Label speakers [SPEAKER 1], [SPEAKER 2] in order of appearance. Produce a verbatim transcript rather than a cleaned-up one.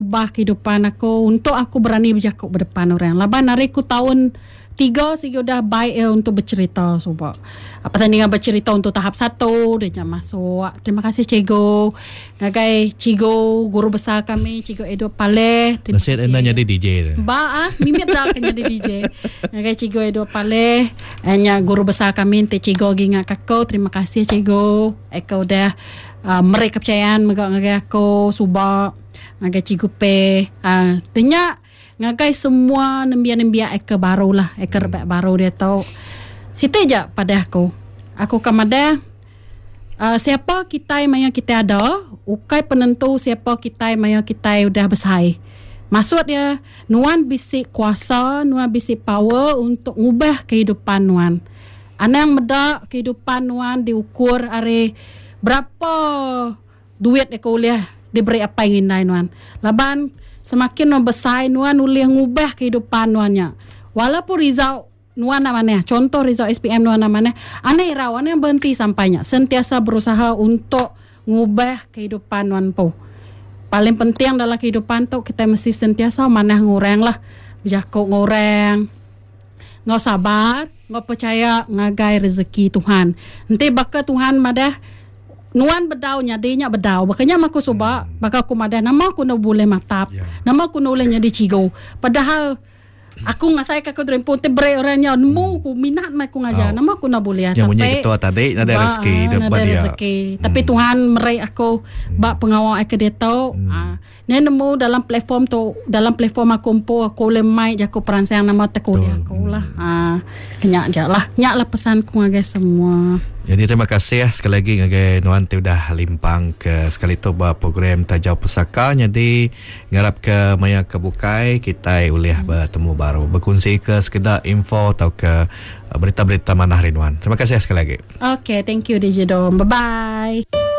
[SPEAKER 1] Ubah kehidupan aku untuk aku berani bercakap berdepan orang. Laban hari ku tahun tiga sigi udah baik ya untuk bercerita suba. Pertandingan bercerita untuk tahap satu dia nak masuk. Terima kasih cikgu. Ngagai cikgu guru besar kami Cikgu Edward Paleh. Terima
[SPEAKER 2] Nasib
[SPEAKER 1] kasih.
[SPEAKER 2] Anda jadi D J.
[SPEAKER 1] Ba ah, mimit dah kena jadi D J. Ngagai Cikgu Edward Paleh, nya guru besar kami te cikgu gi ngak aku. Terima kasih cikgu. Eko udah uh, meri kepercayaan mega ngagai aku suba. Ngagai Cikgu P. Uh, tanya ngagai semua nembia-nembia eka baru lah, eka rebak baru dia tau. Siti je pada aku. Aku kemada uh, siapa kita maya kita ada, ukai penentu siapa kita maya kita udah besar. Maksud dia, nuan bisik kuasa, nuan bisik power untuk ngubah kehidupan nuan. Anang medak kehidupan nuan diukur are berapa duit dia kuliah diberi apa yang indai nuan. Laban semakin nuan besar nuan ulih ngubah kehidupan nuannya. Walaupun result nuan nak mana, contoh result S P M nuan nak mana, aneh raw, aneh berhenti sampainya. Sentiasa berusaha untuk ngubah kehidupan nuan po. Paling penting dalam kehidupan tu kita mesti sentiasa manah ngurang lah. Berjakuk ngurang. Ngau sabar, ngau percaya ngagai rezeki Tuhan. Nanti bakal Tuhan madah nuan bedau nya dia bedau. Bakanya aku suba, bakal aku madah nama aku nak boleh matap.
[SPEAKER 2] Yeah.
[SPEAKER 1] Nama aku nak boleh jadi cikgu. Padahal aku ngasai ke aku terempun te break orangnya nemu aku minat mai aku ngajar.
[SPEAKER 2] Oh.
[SPEAKER 1] Nama aku nak boleh.
[SPEAKER 2] Yang bunyi
[SPEAKER 1] Tapi
[SPEAKER 2] ketua tadi ada
[SPEAKER 1] ba,
[SPEAKER 2] rezeki dia
[SPEAKER 1] ada
[SPEAKER 2] buat dia.
[SPEAKER 1] rezeki. Tapi
[SPEAKER 2] Hmm.
[SPEAKER 1] Tuhan merai aku bak pengawal aku dia tahu.
[SPEAKER 2] Hmm.
[SPEAKER 1] Ah, ni nemu dalam platform tu, dalam platform aku empu aku boleh mai je aku peransang nama teku dia aku lah. Ah, kenyak je lah. Nyak lah pesanku ngagai semua.
[SPEAKER 2] Jadi terima kasih ya, sekali lagi ngagai nuan ti udah limpang ke sekali tu ba program Tajau Pesaka. Jadi ngarap ke maya ke bukai kita ulih hmm. bertemu baru berkongsi ke sekedar info atau ke berita-berita manah hari nuan. Terima kasih sekali lagi.
[SPEAKER 1] Okay, thank you D J Dom. Bye bye.